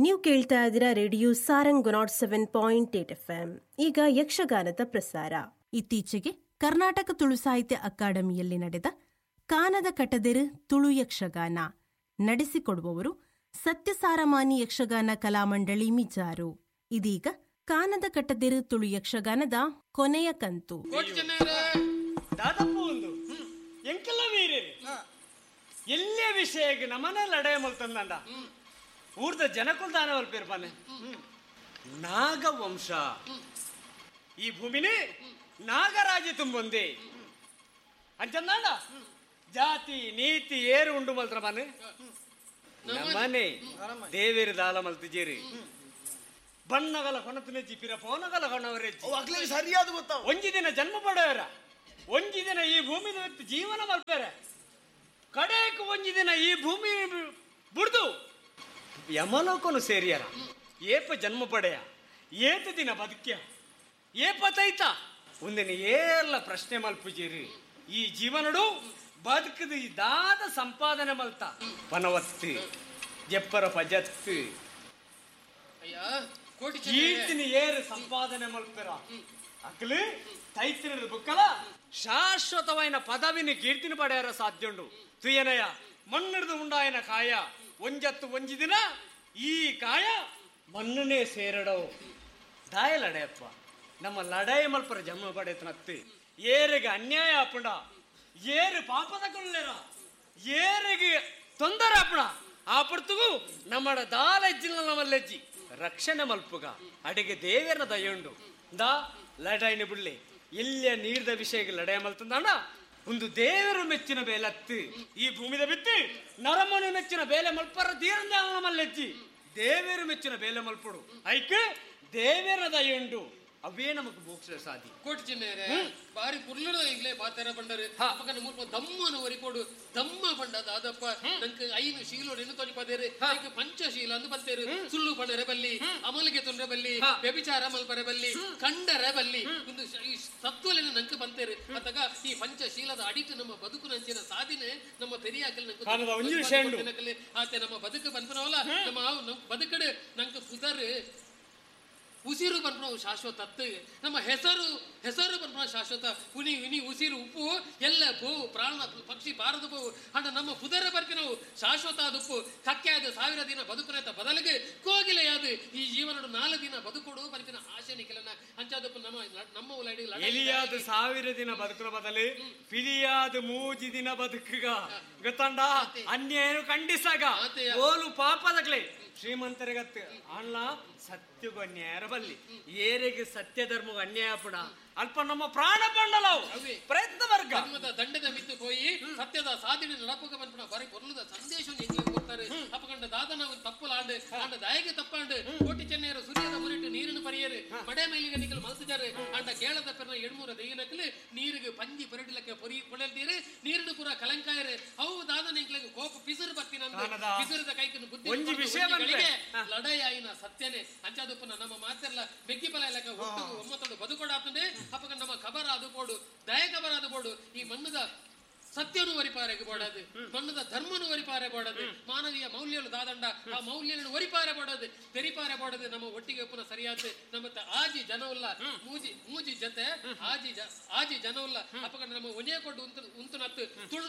ನೀವು ಕೇಳ್ತಾ ಇದ್ದೀರಾ radio Sarang 107.8 FM. ಈಗ ಯಕ್ಷಗಾನದ ಪ್ರಸಾರ. ಇತ್ತೀಚೆಗೆ ಕರ್ನಾಟಕ ತುಳು ಸಾಹಿತ್ಯ ಅಕಾಡೆಮಿಯಲ್ಲಿ ನಡೆದ ಕಾನದ ಕಟದೆರು ತುಳು ಯಕ್ಷಗಾನ ನಡೆಸಿಕೊಡುವವರು ಸತ್ಯಸಾರಮಾನಿ ಯಕ್ಷಗಾನ ಕಲಾಮಂಡಳಿ ಮಿಜಾರು. ಇದೀಗ ಕಾನದ ಕಟದೆರು ತುಳು ಯಕ್ಷಗಾನದ ಕೊನೆಯ ಕಂತು. ದಾದಪ್ಪ ಒಂದು ಎಂಕೆಲ್ಲ ವೀರೇರಿ ಎಲ್ಲೇ ವಿಷಯಕ್ಕೆ ನಮನೆ ಲಡಾಯ ಮಲ್ತಂದಂಡ ಊರ್ದ ಜನಕುಲ್ ದಾನ ಪೇರ್ಪಾನೆ ನಾಗವಂಶ ಈ ಭೂಮಿನಿ ನಾಗರಾಜ ತುಂಬೊಂದಿ ಅಂಚಂದಾಂಡ ಜಾತಿ ನೀತಿ ಏರು ಉಂಡು ಮಲ್ತ್ರ ಮನೆ ನಮನೆ ದೇವೇರು ದಾಲ ಮಲ್ತಿಜೇರಿ ಬಣ್ಣಗಲ ಕೊಣತನೆಜ್ಜಿ ಪಿರ ಪೋನಗಲ ಕೊಣವರೆಜ್ಜಿ ಸರಿಯಾದ ಗೊತ್ತ. ಒಂಜಿ ದಿನ ಜನ್ಮ ಪಡೆಯರ, ಒಂಜಿ ದಿನ ಈ ಭೂಮಿ ಜೀವನ ಮಲ್ಪೇರೆ, ಕಡೆಕ್ ಒಂಜಿ ದಿನ ಈ ಭೂಮಿ ಬುಡ್ದು ಯಮಲೋಕನು ಸೇರಿಯರ. ಏಪ ಜನ್ಮ ಪಡೆಯ, ಏತ ದಿನ ಬದುಕ್ಯ, ಏಪ ತೈತ ಒಂದಿನ ಏರ್ಲ ಪ್ರಶ್ನೆ ಮಲ್ಪುಜೇರಿ. ಈ ಜೀವನಡು ಬದುಕದು ದಾದ ಸಂಪಾದನೆ ಮಲ್ತ ಪನವತ್ತು ಜಪ್ಪರ ಪಜತ್ತು ಕೀರ್ತಿನ ಏರು ಸಂಪಾದನೆ ಮಲ್ಪೆರ ಅಕ್ಲು ತೈತಿನ ಬುಕ್ಕಲ ಶಾಶ್ವತವಾಯಿನ ಪದವಿನ ಕೀರ್ತಿನ ಪಡೆಯರ ಸಾಧ್ಯುಂಡು. ತುಯನಯ ಮಣ್ಣಿಡ್ದು ಉಂಡಾಯನ ಕಾಯ ಒಂಜತ್ತು ಒಂಜಿ ದಿನ ಈ ಕಾಯ ಮಣ್ಣನೇ ಸೇರಡೋ. ದಾಯ ಲಡೆಯಪ್ಪ ನಮ್ಮ ಲಡಾಯ ಮಲ್ಪರ ಜನ್ಮ ಪಡೆಯತನತ್ತಿ. ಏರಿಗೆ ಅನ್ಯಾಯ ಆಪುಂಡ, ಏರು ಪಾಪದ ಕೊಲ್ಲೆರ, ಏರಿಗೆ ತೊಂದರೆ ಆಪುಣ ಆ ಪುರ್ತುಗು ನಮ್ಮಡ ದಾಲೆಜ್ಜಿನ ನಮ್ಮಲ್ಲೆಜ್ಜಿ ರಕ್ಷಣೆ ಮಲ್ಪುಗ ಅಡಿಗೆ ದೇವರ ದಯುಂಡು. ದಾ ಲಡಾಯಿನ ಬುಳ್ಳಿ ಇಲ್ಲಿಯ ನೀರ್ದ ವಿಷಯಕ್ಕೆ ಲಡಾಯ ಮಲ್ತಂದಾಣ ಒಂದು ದೇವರು ಮೆಚ್ಚಿನ ಬೇಲತ್ತು ಈ ಭೂಮಿದ ಬಿತ್ತು ನರಮನು ಮೆಚ್ಚಿನ ಬೇಲೆ ಮಲ್ಪರ ತೀರಂದ ಮಲ್ಲೆಜ್ಜಿ ದೇವರು ಮೆಚ್ಚಿನ ಬೇಲೆ ಮಲ್ಪಡು ಐಕ್ ದೇವರ ದಯುಂಡು. ಅವೇ ನಮಕ್ ಮೋಕ್ಷ ಸಾಧಿ. ಕೋಟಿ ಚಿನ್ನೇರೆ ಬಾರಿ ಪುರ್ಲುದ ಇಂಗ್ಲೇ ಬಾತರ ಪಂಡರು ಅಪ್ಪಕನ ಮೂರ್ಪ ದಮ್ಮನ ಒರಿಪೋಡು ದಮ್ಮ ಪಂಡ ದಾದಪ್ಪ ನಂಗೆ 5 ಶೀಲೋಡು ಇನ್ನು ತೊಜಿ ಪದೇರು ಪಂಚಶೀಲ ಅಂದು ಬಂತೇರು. ಸುಳ್ಳು ಪಂಡರೆ ಬಲ್ಲಿ, ಅಮಲಿಗೆ ತೊಂದರೆ ಬಲ್ಲಿ, ವ್ಯಭಿಚಾರ ಮಲ್ಪರೆ ಬಲ್ಲಿ, ಕಂಡರೆ ಬಲ್ಲಿ, ಒಂದು ಈ ಸತ್ವಲೆನ ನಂಗೆ ಬಂತೇರು. ಅತಗ ಈ ಪಂಚಶೀಲದ ಅಡಿತು ನಮ್ಮ ಬದುಕು ನಂಚಿನ ಸಾಧನೆ ನಮ್ಮ ಪೆರಿಯಾಕಲ್ ನಂಗೆ ಆತೆ ನಮ್ಮ ಬದುಕು ಬಂತನವಲ್ಲ ನಮ್ಮ ಬದುಕಡು ನಂಗೆ ಪುದರ್ ಉಸಿರು ಬಂದ್ಬಿಡ ಶಾಶ್ವತ, ನಮ್ಮ ಹೆಸರು ಹೆಸರು ಬಂದ್ಬಿಡ ಶಾಶ್ವತ. ಉನಿ ಉನಿ ಉಸಿರು ಉಪ್ಪು ಎಲ್ಲ ಪೋವು ಪ್ರಾಣ ಪಕ್ಷಿ ಬಾರದು ಪೋವು ಅಂಡ ನಮ್ಮ ಪುದರ ಬರ್ತಿ ನಾವು ಶಾಶ್ವತ ಅದುಪ್ಪು. ಕಕ್ಕೆ ಅದು 1000 ದಿನ ಬದುಕುನತ ಬದಲಿಗೆ ಕೋಗಿಲೆಯಾದು ಈ ಜೀವನಡು 4 ದಿನ ಬದುಕೊಡು ಬರ್ತಿನ ಆಶೆ ನಿಖಲನ ಅಂಚಾದಪ್ಪು ನಮ್ಮ ನಮ್ಮ ಎಲಿಯಾದ 1000 ದಿನ ಬದುಕುನ ಬದಲು ಪಿಲಿಯಾದ 3 ದಿನ ಬದುಕುಗ ಗೊತ್ತಂಡ. ಅನ್ಯಾಯನು ಖಂಡಿಸಾಗ ಓಲು ಪಾಪದಕ್ಲೆ ಶ್ರೀಮಂತರಿಗತ್ತು ಅಣ್ಣ ಸತ್ಯಗೂ ಅನ್ಯಾಯ ಬಲ್ಲಿ, ಏರಿಗೆ ಸತ್ಯ ಧರ್ಮಗೂ ಅನ್ಯಾಯ ಪುಣ ಅಲ್ಪ ನಮ್ಮ ಪ್ರಾಣ ಪಂಡಲವು ಪ್ರಯತ್ನ ವರ್ಗ ದಂಡದ ಮಿತ್ತು ಹೋಯಿ ಸತ್ಯದ ಸಾಧನೆ ನಡಪುಗ ಬಂದ್ಪುಣ ಬರೀ ಕೊರ್ಲುದ ಸಂದೇಶ ಕೊಡ್ತಾರೆ. ಅಪಕಂಡ ದಾದನ ಒಂದು ತಪ್ಪಲಾಂಡು ಅಂಡ ದಾಯಗೆ ತಪ್ಪಾಂಡು ಕೋಟಿ ಚೆನ್ನೆಯರು ಸೂರ್ಯದ ಮುರಿಟ್ಟು ನೀರನ್ನು ಪರಿಯರು ಮಡೆ ಮೇಲಿಗೆ ನಿಕಲು ಮಲ್ಸಿಜಾರು ಅಂಡ ಕೇಳದ ಪೆರ್ನ 7 ದೈನಕಲು ನೀರಿಗೆ ಪಂಜಿ ಪೊರಡಿಲಕ್ಕೆ ಪೊರಿ ಪೊಳೆಲ್ತೀರು ನೀರನ್ನು ಪೂರ ಕಲಂಕಾಯರು. ಅವು ದಾದನ ಎಂಕ್ಲೆಗೆ ಕೋಪ ಪಿಸುರು ಬರ್ತೀನ ಪಿಸುರದ ಕೈಕನ್ನು ಬುದ್ಧಿ ಲಡಾಯಿನ ಸತ್ಯನೇ ಅಂಚಾದಪ್ಪನ ನಮ್ಮ ಮಾತೆಲ್ಲ ಬೆಗ್ಗಿ ಫಲ ಇಲ್ಲಕ ಒಟ್ಟು ಒಮ್ಮತ್ತೊಂದು ಬದುಕೊಡಾತಂದೆ. ಅಪ್ಪಗ ನಮ್ಮ ಖಬರ ಅದು ಬೋಡು ದಯ ಖಬರ ಅದು ಬೋಡು ಈ ಮಣ್ಣದ ಸತ್ಯನು ಒರಿಪಾರೆಗೆ ಬೋಡದು, ಮಣ್ಣದ ಧರ್ಮನು ಒರಿಪಾರೆ ಬೋಡದು, ಮಾನವೀಯ ಮೌಲ್ಯಗಳು ದಾದಂಡ ಆ ಮೌಲ್ಯಗಳನ್ನು ಒರಿಪಾರೆ ಬೋಡದು ತೆರಿಪಾರೆ ಬೋಡದು ನಮ್ಮ ಒಟ್ಟಿಗೆ ಒಪ್ಪನ ಸರಿಯಾದ ನಮ್ಮ ಆಜಿ ಜನವುಲ್ಲ ಮೂಜಿ ಮೂಜಿ ಜೊತೆ ಆಜಿ ಆಜಿ ಜನವುಲ್ಲ ಅಪ್ಪಗ ನಮ್ಮ ಒಂದೇ ಕೊಟ್ಟು ಉಂತು ಉಂತು ನತ್ತು ತುಳು